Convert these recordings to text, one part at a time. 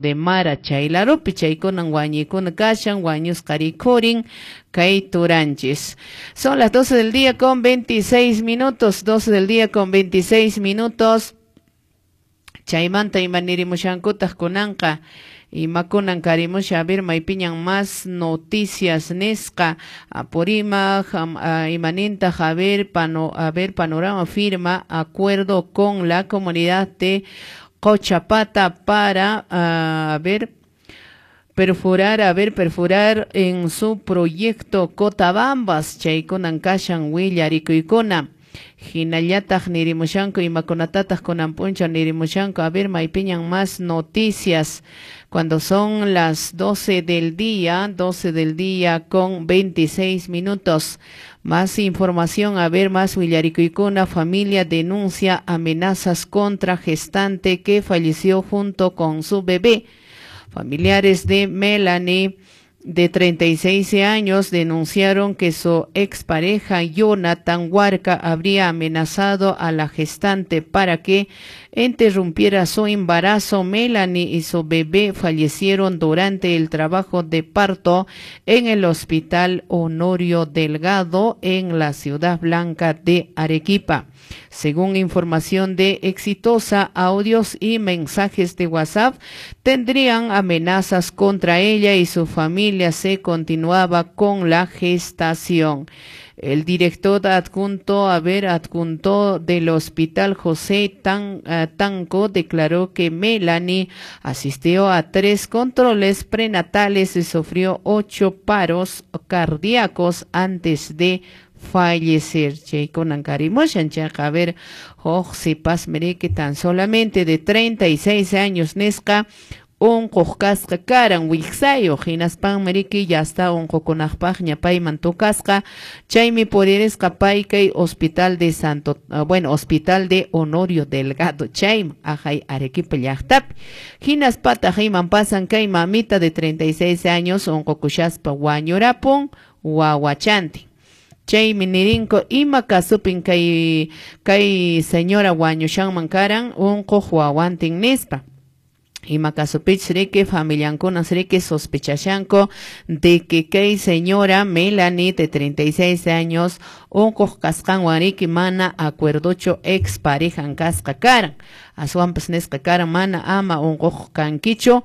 De Mara chaylarupi chaykunan wañuykuna kashan wañusqa rikhurin kay turanchis. Son las 12 del día con 26 minutos, 12 del día con 26 minutos. Chaymanta imanirimushankutaq kunanqa imakunan karimusha, a ver, maypiñan más noticias nisqa. Apurímac imanintaq, a ver, a ver, Panorama firma acuerdo con la comunidad de Cochapata para, a ver, perforar, a ver, perforar en su proyecto Cotabambas. Chaykunan kashan willarikuykuna. Hinallataq nirimushanku imakunatataq kunan p'unchaw nirimushanku. A ver, maypiñan más noticias cuando son las 12 del día, 12 del día con 26 minutos. Más información, a ver, más willarikuykuna. Familia denuncia amenazas contra gestante que falleció junto con su bebé. Familiares de Melanie, de 36 años, denunciaron que su expareja Jonathan Huarca habría amenazado a la gestante para que interrumpiera su embarazo. Melanie y su bebé fallecieron durante el trabajo de parto en el Hospital Honorio Delgado en la Ciudad Blanca de Arequipa. Según información de Exitosa, audios y mensajes de WhatsApp tendrían amenazas contra ella y su familia se continuaba con la gestación. El director adjunto, a ver, adjunto del hospital, José Tanco, declaró que Melanie asistió a 3 controles prenatales y sufrió 8 paros cardíacos antes de fallecer. Chaykunan karimushan chayqa, a ver, huk sipasmi riki tan solamente de 36 años nisqa unquq kasqa karan wiksayuq, hinaspanmi riki ya está unqukunaqpaqña payman tukasqa, chaymi puririsqa pay kay hospital de Santo, bueno, hospital de Honorio Delgado chayman ajay Arequipa llaqtapi. Hinaspataq iman pasan kay mamita de 36 años unqukushaspa wañurapun wawachantin. Chaymi nirinko ima kasupin kay señora wañushanman karan unquq wawantin nispa. Ima kasupich riki familiankuna riki sospechashanko de que kay señora Melanie de 36 años unquq kasqanwan riki mana acuerdocho ex parejan kasqa karan. Aswanpas nisqa karan mana ama unquq kankichu,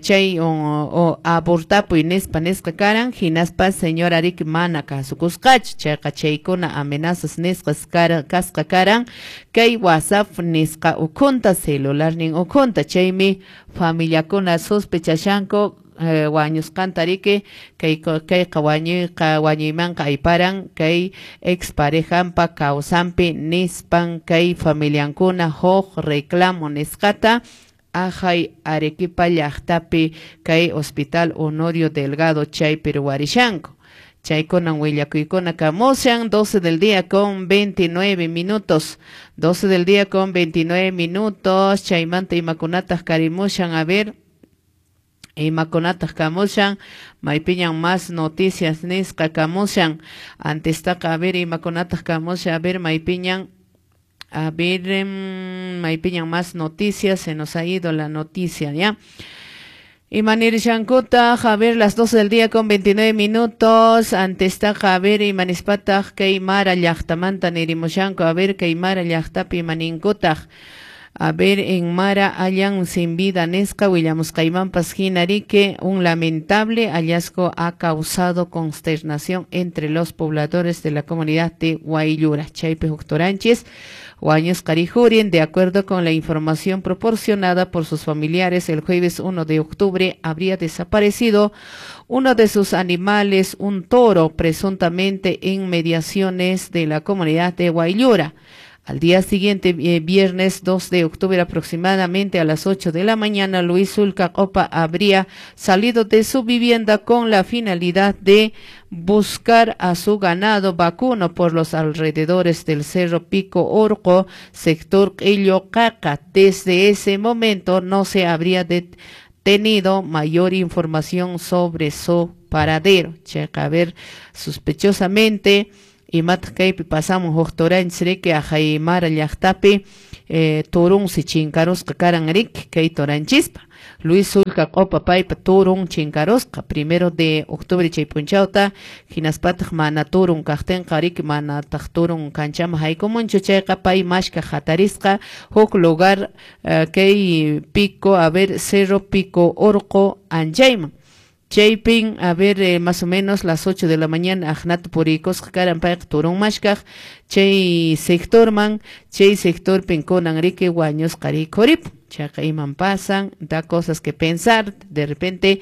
chay o abortapuy nispa nisqa karan, hinaspa señora riki mana kasukusqachu. Chayqa chaykuna amenazas nisqas kasqa karan kay WhatsApp nisqa ukhunta, celularnin ukhunta. Chaymi familiakuna sospechashanko wañusqanta riki kayqa wañuyqa wañuymanqa ayparan kay exparejanpa kawsanpi nispan kay familiankuna huk reclamo nisqata ajay Arequipa llaqtapi kay Hospital Honorio Delgado chaypi ruwarishanku. Chaykunan willakuykuna kamushan. 12 del día con 29 minutos. 12 del día con 29 minutos. Chaymanta imakunataq karimushan, a ver, imakunataq kamushan, maypiñan más noticias nisqa kamushan. Antes taqa, a ver, imakunataq kamushan, a ver, maypiñan, a ver, maypiñan más noticias, se nos ha ido la noticia, ¿ya? Imanir shankuta, a ver, las 12 del día con 29 minutos. Antes taqa, a ver, imanispataq kay Mara llaqtamanta nirimushanku, a ver, kay Mara llaqtapi imaninkutaq. A ver, en Mara hallan sin vida nisqa willamusqaymanpas hina riki un lamentable hallazgo ha causado consternación entre los pobladores de la comunidad de Guayllura. Chaypi huk turanchis wañusqa rijurin, de acuerdo con la información proporcionada por sus familiares, el jueves 1 de octubre habría desaparecido uno de sus animales, un toro, presuntamente en mediaciones de la comunidad de Guayllura. Al día siguiente, viernes 2 de octubre, aproximadamente a las 8 de la mañana, Luis Zulca Copa habría salido de su vivienda con la finalidad de buscar a su ganado vacuno por los alrededores del Cerro Pico Orco, sector Caca. Desde ese momento no se habría tenido mayor información sobre su paradero. Checa, a ver, sospechosamente, imataq kaypi pasamos huk turanchis riki ajay Mara llaqtapi, turunsi chinkarusqa karan riki kay turanchispa. Luis Sulca Q'upa paypa turun chinkarusqa 1 de octubre chay p'unchawta, hinaspataq mana turun kaqtinqa riki manataq turun kanchaman haykumunchu chayqa pay mashkaq hatarisqa huk lugar kay pico, a ver, Cerro Pico Orqo anchayman. Chaypin, a ver, más o menos las 8 de la mañana aqnata puriykusqa karan payqa turun mashkaq chay sectorman, chay sectorpin kunan riki wañusqa rikhuripun. Chayqa iman pasan, da cosas que pensar, de repente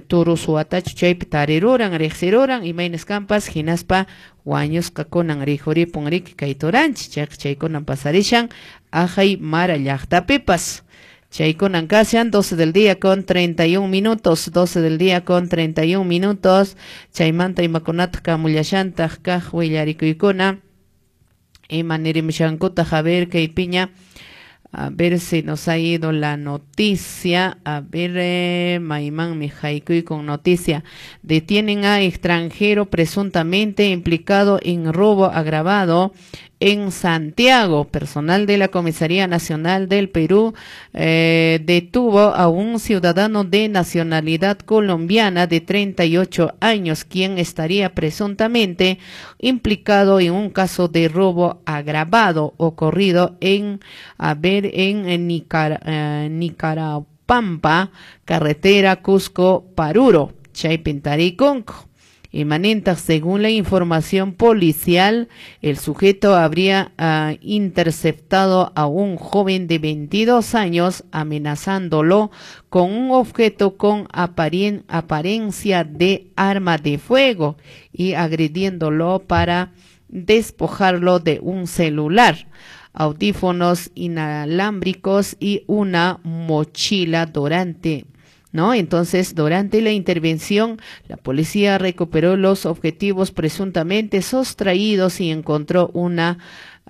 turu suwatachu chaypi tariruran, riqsiruran, imaynas kanpas, hinaspa wañusqa kunan rikhuripun riki kay turanchis. Chayqa chaykunan pasarishan Ajay Mara llaqtapipas. Chaykunan kashan 12 del día con 31 minutos, 12 del día con 31 minutos. Chaymanta imakunataq kamullashantaq kaq willarikuykuna. Ima nirimushankutaq, a ver kaypiña, a ver si nos ha ido la noticia, a ver, maymanmi haykuykun noticia. Detienen a extranjero presuntamente implicado en robo agravado en Santiago. Personal de la Comisaría Nacional del Perú detuvo a un ciudadano de nacionalidad colombiana de 38 años, quien estaría presuntamente implicado en un caso de robo agravado ocurrido en, a ver, en Nicarapampa, carretera Cusco-Paruro, chaypin tarikunku. Imanintaq, según la información policial, el sujeto habría interceptado a un joven de 22 años amenazándolo con un objeto con apariencia de arma de fuego y agrediéndolo para despojarlo de un celular, audífonos inalámbricos y una mochila durante, ¿no? Entonces, durante la intervención, la policía recuperó los objetivos presuntamente sustraídos y encontró una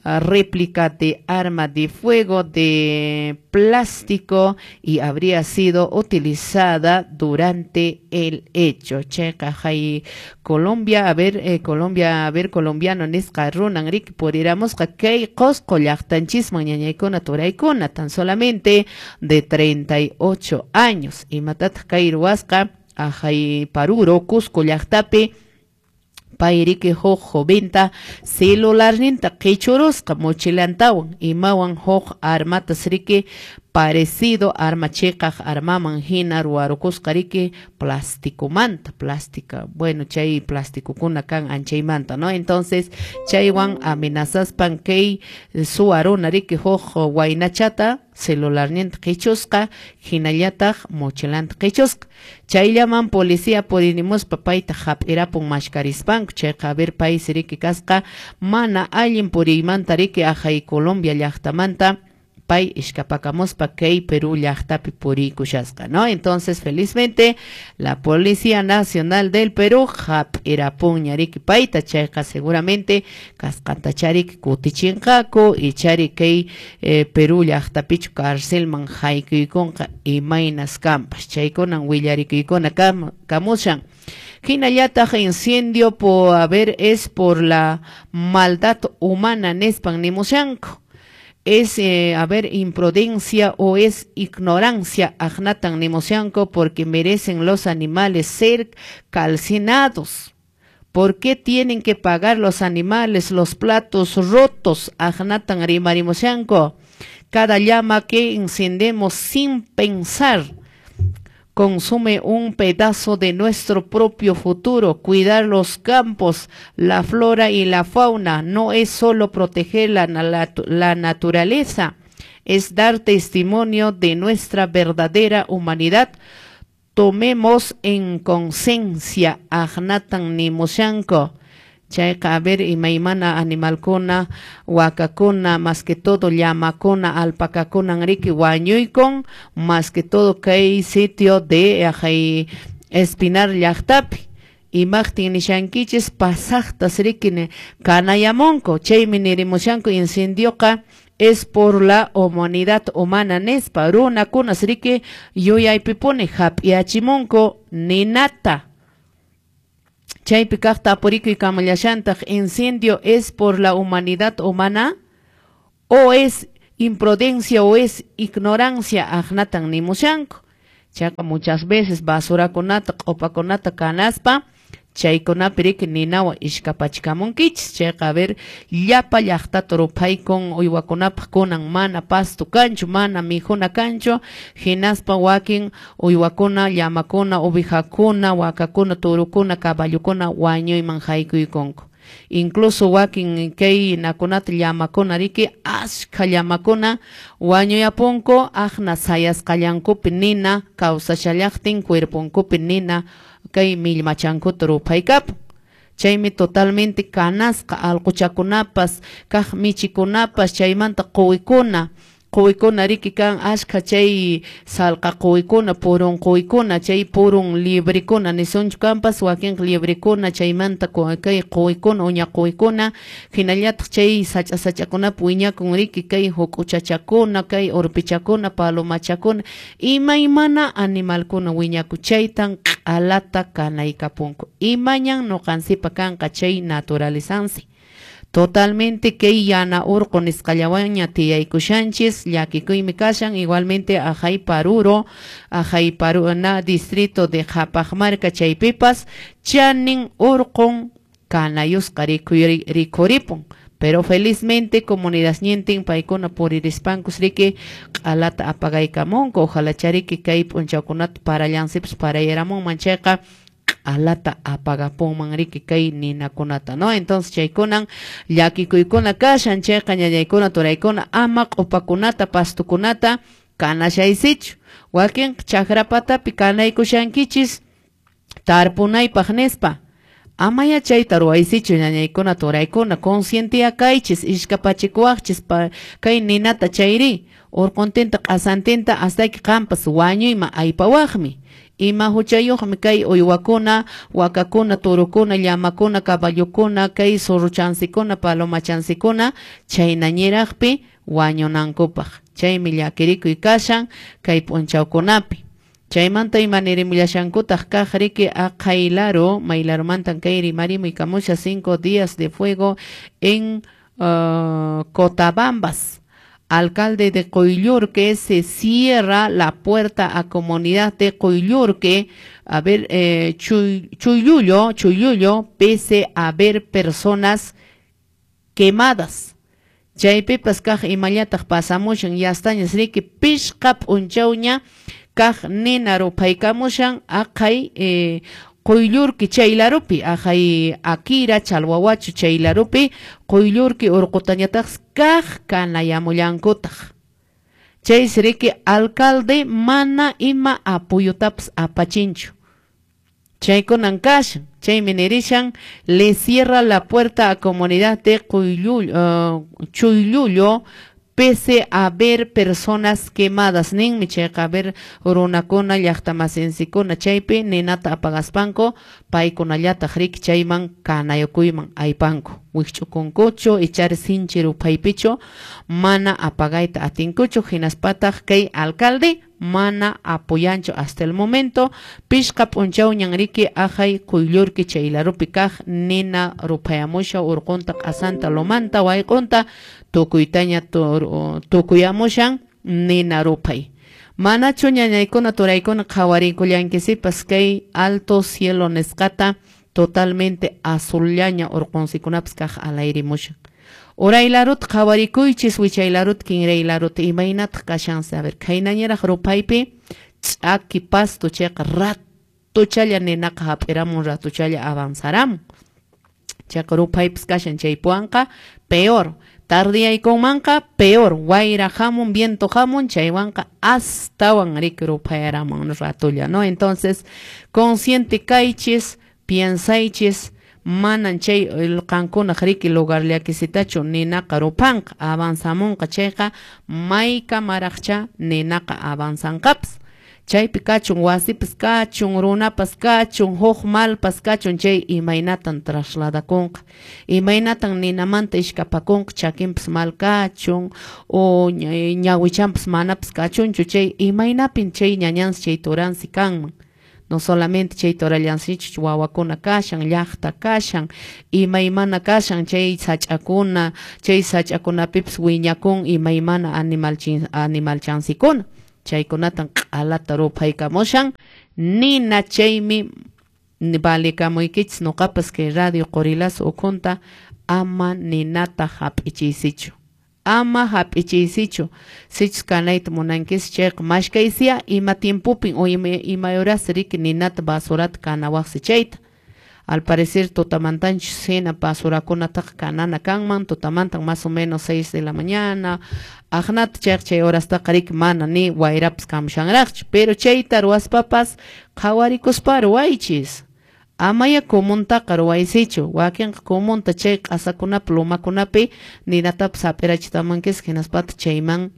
réplica de arma de fuego de plástico y habría sido utilizada durante el hecho. Checa, hay Colombia, a ver, Colombia, a ver, colombiano nisqa runan riki puriramusqa kay Qosqo llaqtanchisman ñañaykuna turaykuna, tan solamente de 38 años. Imatataq kay ruwasqa ajay Paruro, Cusco llaqtapi, payriki huk joventa celularninta qichurusqa mochilantawan imawan huk armatas riki parecido arma chiqaq armaman hina ruwarukusqa riki plasticomanta, plástica, bueno, chay plasticokuna kan anchaymanta, ¿no? Entonces, chaywan amenazaspan kay suwaruna riki huk waynachata celularninta qichusqa, hinallataq mochilanta qichusqa. Chayllaman policía purinimuspa payta hap'irapun mashkarispanku. Chayqa a ver paysi riki kasqa mana allin puriymanta riki ajay Colombia llaqtamanta pay ishkapakamuspa kay Perú llaqtapi puriykushasqa, ¿no? Entonces, felizmente, la Policía Nacional del Perú hap'irapunña riki payta. Chayqa seguramente kasqanta riki kutichinqaku ichari kay Perú llaqtapichu carcelman haykuykunqa imaynas kanpas. Chaykunan willarikuykuna kamushan. Hinallataq incendio por haber es por la maldad humana nispan nimushanku. Es, a ver, imprudencia o es ignorancia, aqnatan nimushanku, porque merecen los animales ser calcinados. ¿Por qué tienen que pagar los animales los platos rotos? Aqnatan rimarimushanku. Cada llama que encendemos sin pensar consume un pedazo de nuestro propio futuro. Cuidar los campos, la flora y la fauna no es solo proteger la naturaleza, es dar testimonio de nuestra verdadera humanidad. Tomemos en conciencia, aqnatan nimushanku. Chayqa, a ver, imaymana animalkuna, wakakuna, más que todo llamakuna, alpacakuna riki wañuykun, más que todo kay sitio de ajay Espinar llaqtapi. Imaqtin nishankichis pasaqtas riki kanayamunku, chaymi nirimushanku incendioqa es por la humanidad humana nispa, runakunas riki yuyaypipuni hap'iachimunku ninata. Chaypi kaqta apurikuy kamallashantaq, incendio es por la humanidad humana o es imprudencia o es ignorancia, aqnatan nimushanku. Chayqa muchas veces basurakunata, q'upakunata kanaspa chaykunapi riki ninawan ishkapachikamunkichis. Chayqa a ver llapa llaqtata ruphaykun, uywakunapaq kunan mana pasto kanchu, mana mikhuna kanchu, hinaspa wakin uywakuna, llamakuna, ovejakuna, wakakuna, turukuna, caballokuna wañuyman haykuykunku. Incluso wakin kay nakunata llamakuna riki askha llamakuna wañuyapunku, aqna sayasqallankupi nina kawsashallaqtin cuerponkupi nina kay millmachankuta ruphaykapun. Chaymi totalmente kanasqa alquchakunapas, kaq michikunapas, chaymanta quwikuna, quwikuna riki kan askha chay salqa quwikuna, purun quwikuna, chay purun liebrekuna nisunchu kanpas, wakinqa liebrekuna, chaymanta kay quwikuna, uña quwikuna, hinallataq chay sach'a sach'akunapi wiñakun riki kay huk'uchachakuna, kay urpichakuna, palomachakuna, imaymana animalkuna wiñaku, chaytan q'alata kanaykapunku. Imañan nuqansipa kanqa chay naturalizansi. Totalmente kay yana urqu nisqallawanña tiyaykushanchis, llakikuymi kashan, igualmente ajay Paruro, ajay Paruna distrito de Qhapaqmarka chaypipas chanin urqun kanayusqa rikhuripun. Pero felizmente comunidad ñintin paykuna puririspankus riki q'alata apagaykamunku, ojalá chariki kay p'unchawkunata parallansipas parayaramunman chayqa q'alata apagapunman riki kay ninakunata, ¿no? Entonces chaykunan llakikuykuna kashan, chayqa ñañaykuna turaykuna ama q'upakunata pastukunata kanashaysichu. Wakin chakrapatapi kanaykushankichis tarpunaypaq nispa, amaya chayta ruwaysichu ñañaykuna turaykuna, conscientia kaychis, ishkapachikuwaqchis kay ninata chayri urquntinta q'asantinta hastayki qampas wañuyman aypawaqmi. Ima huchayuqmi kay uywakuna, wakakuna, turukuna, llamakuna, caballokuna, kay zorrochansikuna, palomachansikuna chaynañiraqpi wañunankupaq. Chaymi llakirikuy kashan kay p'unchawkunapi. Chaymanta imanirimullasankutaq kaq riki aqhaylaro, maylaromantan kay rimarimuy kamusha 5 días de fuego en Cotabambas. Alcalde de Coyllurque se cierra la puerta a comunidad de Coyllurque, a ver, Chuyullo, pese a haber personas quemadas. Chaypipas kaq imallataq pasamushan, yastañas riki pishqa p'unchawña kaq nina ruphaykamushan aqhay Coyllurqui chaylarupi, aqhay Akira, Chalhuahuacho chaylarupi, Coyllurqui urqutañataq kaq kanayamullankutaq. Chaysi riki alcalde mana ima apoyotapas apachinchu. Chaykunan kashan, chaymi nirishan, le cierra la puerta a comunidad de Chuyullo, pese a ver personas quemadas. Ninmi chayqa a ver runakuna llaqtamasinsikuna chaypi ninata apagaspanku paykunallataq riki chayman kanayukuyman aypanku, wikch'ukunkuchu ichari sinchi ruphaypichu mana apagayta atinkuchu, hinaspataq kay alcalde mana apoyanchu hasta el momento. Pishqa p'unchawñan riki aqhay Coyllurqui chaylarupi kaq nina ruphayamusha urqunta q'asanta lomanta wayq'unta tukuytaña tukuyamushan nina ruphay. Manachu ñañaykuna turaykuna qhawariykullanquisipas kay alto cielo nisqata totalmente azullaña urqunsikunapas kaq alayrimushan. Uraylarut qhawarikuychis, wichaylarut, kinraylarut, imaynataq kashansi? A ver, khaynañiraq ruphaypi ch'aki pasto chayqa ratuchalla ninaqa hap'iramun, ratuchalla avanzaramun. Chayqa ruphaypas kashan chaypuwanqa peor, tardiyaykunmanqa peor, wayra hamun, viento hamun, chaywanqa astawan riki ruphayaramun ratulla, ¿no? Entonces, consciente kaychis, piensaychis, manan chay qankunaq riki lugarllakisitachu ninaqa ruphanqa, avanzamunqa chayqa maykamaraqcha ninaqa avanzanqapas. Chaypi kachun, wasipas kachun, runapas kachun, huk malpas kachun, chay imaynatan trasladakunqa, imaynatan ninamanta ishkapakunqa, chakinpas mal kachun, o ñawichanpas manapas kachunchu, chay imaynapin chay ñañansi chay turansi kanman. No solamente chay torallansichu wawakuna kashan, llaqta kashan, imaymana kashan, chay sach'akuna, chay sach'akunapipas wiñakun imaymana animalchansikuna. Chaykunatan q'alata ruphaykamushan nina, chaymi valekamuykichis noqapas kay radio Qorilazo ukhunta, ama ninata hap'ichiysichu. Ama hap'ichiysichu. Sichus kanayta munankis chayqa mashkaysiya ima tiempopin o ima horas riki ninata basurata kanawaqsi chayta. Al parecer tutamantanchus hina basurakunataqa kanana kanman, tutamantan más o menos 6 de la mañana, aqnata chayqa chay horastaqa riki mana ni wayrapas kamushanraqchu, pero chayta ruwaspapas qhawarikuspa ruwaychis. Amaya comuntaqa ruwaysichu, wakinqa comunta chay q'asakunapi lumakunapi ninatapas hap'irachitamunkis, hinaspataq chayman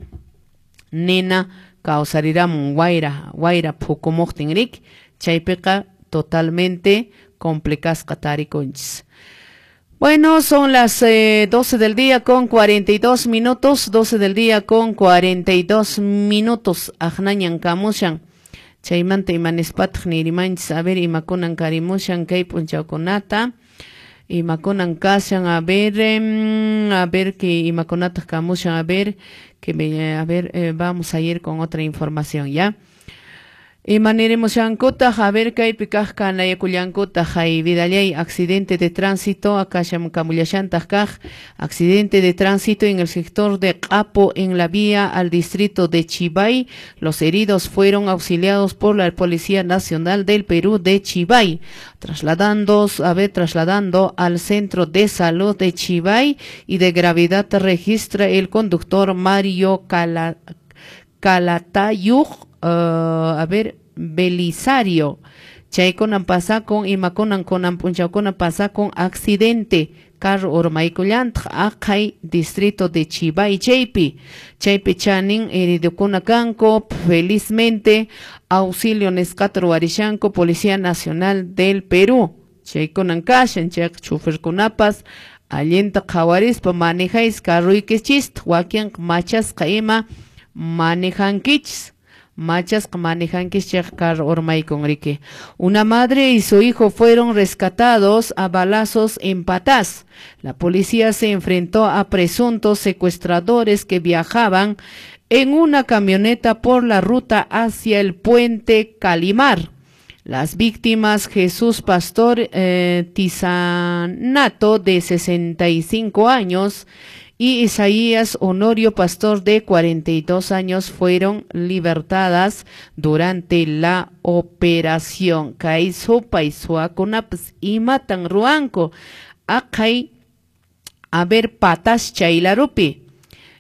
nina kawsariramun wayra phukumuqtin riki, chaypiqa totalmente complicasqa tarikunchis. Bueno, son las 12 del día con 42 minutos, 12 del día con 42 minutos, aqnañan kamushan. Chaymanta imanispataq nirimanchis, a ver imakunan karimushan kay p'unchawkunata, imakunan kashan, a ver que imakunataq kamushan, a ver que me, a ver, vamos a ir con otra información, ¿ya? Imanirimushankutaq, a ver kaypi kaq kanayakullankutaq, hay vidallay, accidente de tránsito, akasham kamullashantaq kaq, accidente de tránsito en el sector de Qapo, en la vía al distrito de Chivay. Los heridos fueron auxiliados por la Policía Nacional del Perú de Chivay, trasladando al centro de salud de Chivay, y de gravedad registra el conductor Mario Calatayud, Belisario. Chaykunan pasakun, imakunan kunan p'unchawkuna pasakun accidente, carro urmaykullantaq aqhay distrito de Chivay chaypi, chaypi chanin heridokuna kanku, felizmente auxilio nisqata ruwarishanku Policía Nacional del Perú. Chaykunan kashan, chayqa choferkunapas allinta qhawarispa manejáis carruykichista, wakinqa machasqa ima manejankichis. Machasqa manejankichis chayqa carro urmaykun riki. Una madre y su hijo fueron rescatados a balazos en Patás. La policía se enfrentó a presuntos secuestradores que viajaban en una camioneta por la ruta hacia el puente Calimar. Las víctimas, Jesús Pastor Tizanato, de 65 años, y Isaías Honorio Pastor, de 42 años, fueron libertadas durante la operación. Kay supay suwakunapas imatan ruwanku, aqhay a ver patas chaylarupi.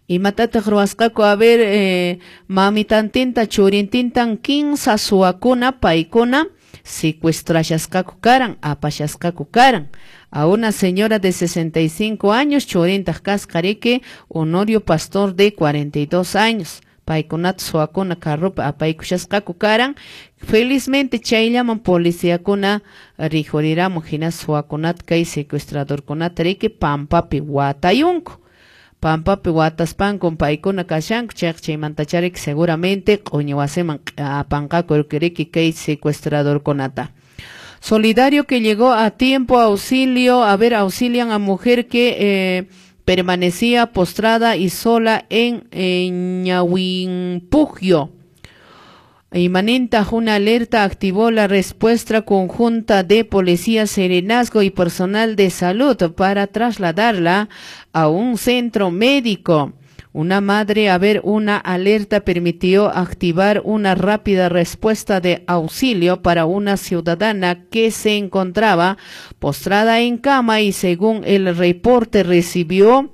Imatataq ruwasqaku, a ver mamitantinta churintintan 15 suwakuna paykuna secuestrashasqaku karan, apashasqaku karan. A una señora de 65 años, churintaq kasqa riki, Honorio Pastor de 42 años. Paykunata suwakuna carropi apaykushasqaku karan. Felizmente chayllaman policíakuna rikhuriramun, hina suwakunata kay secuestradorkunata riki pampapi watayunku. Pampapi wataspanku paykuna kashanku, chayqa chaymantachá riki seguramente q'uñi wasiman apanqaku riki kay secuestradorkunata. Solidario que llegó a tiempo auxilio, a ver, auxilian a mujer que permanecía postrada y sola en Ñahuimpujio. Imanenta una alerta activó la respuesta conjunta de policía, serenazgo y personal de salud para trasladarla a un centro médico. Una madre, a ver, una alerta permitió activar una rápida respuesta de auxilio para una ciudadana que se encontraba postrada en cama y, según el reporte, recibió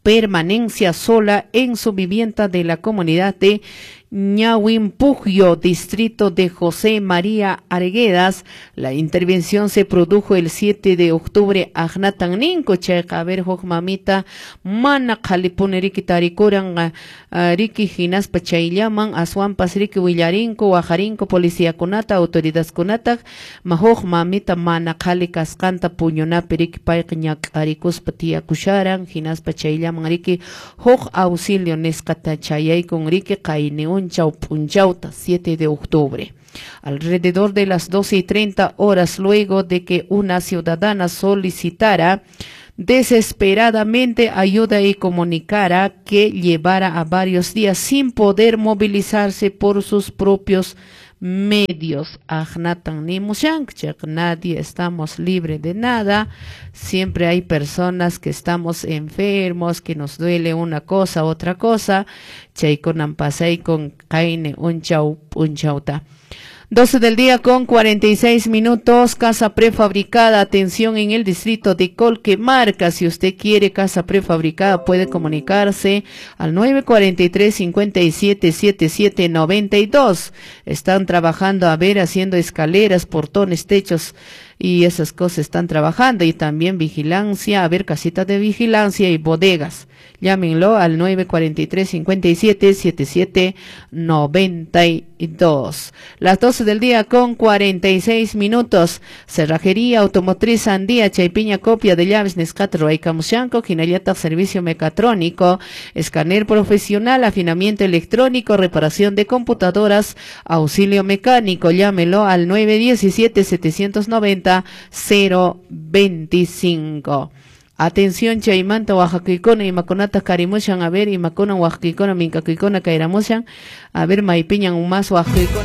permanencia sola en su vivienda de la comunidad de Ñahuimpujio, distrito de José María Arguedas. La intervención se produjo el 7 de octubre. Aqnatan ninku chayqa, a ver, huk mamita mana qhalipuni riki tarikuran riki hinaspa chayllaman aswanpas riki willarinku waqarinku policiakunata autoridadkunata, ma huk mamita mana qhali kasqanta puñunapi riki payqa ñak'arikuspa tiyakusharan, hinaspa chayllaman riki huk auxilio nisqata chayaykun riki qayni p'unchawta 7 de octubre. Alrededor de las 12:30 horas, luego de que una ciudadana solicitara desesperadamente ayuda y comunicara que llevara a varios días sin poder movilizarse por sus propios medios. Ahnatan nimushanchik, nadie estamos libre de nada. Siempre hay personas que estamos enfermos, que nos duele una cosa, otra cosa. Chaykunan pasay con qayni unchaw p'unchawta. 12 del día con 46 minutos, casa prefabricada, atención en el distrito de Colquemarca. Si usted quiere casa prefabricada, puede comunicarse al 943 57 77 92. Están trabajando, a ver, haciendo escaleras, portones, techos y esas cosas están trabajando. Y también vigilancia, a ver, casitas de vigilancia y bodegas. Llámenlo al 943 57 77 92. Las 12 del día con 46 minutos. Cerrajería Automotriz Andía, Chaypiña copia de llaves nisqata ruwaykamushanku, hinallataq servicio mecatrónico, escáner profesional, afinamiento electrónico, reparación de computadoras, auxilio mecánico. Llámelo al 917 790 025. Atención chaymanta wahakuykuna, imakunata karimushan, a ver, imakuna wahakuykuna, minkakuykuna kayramushan, a ver, maypiñan más wahakuykuna.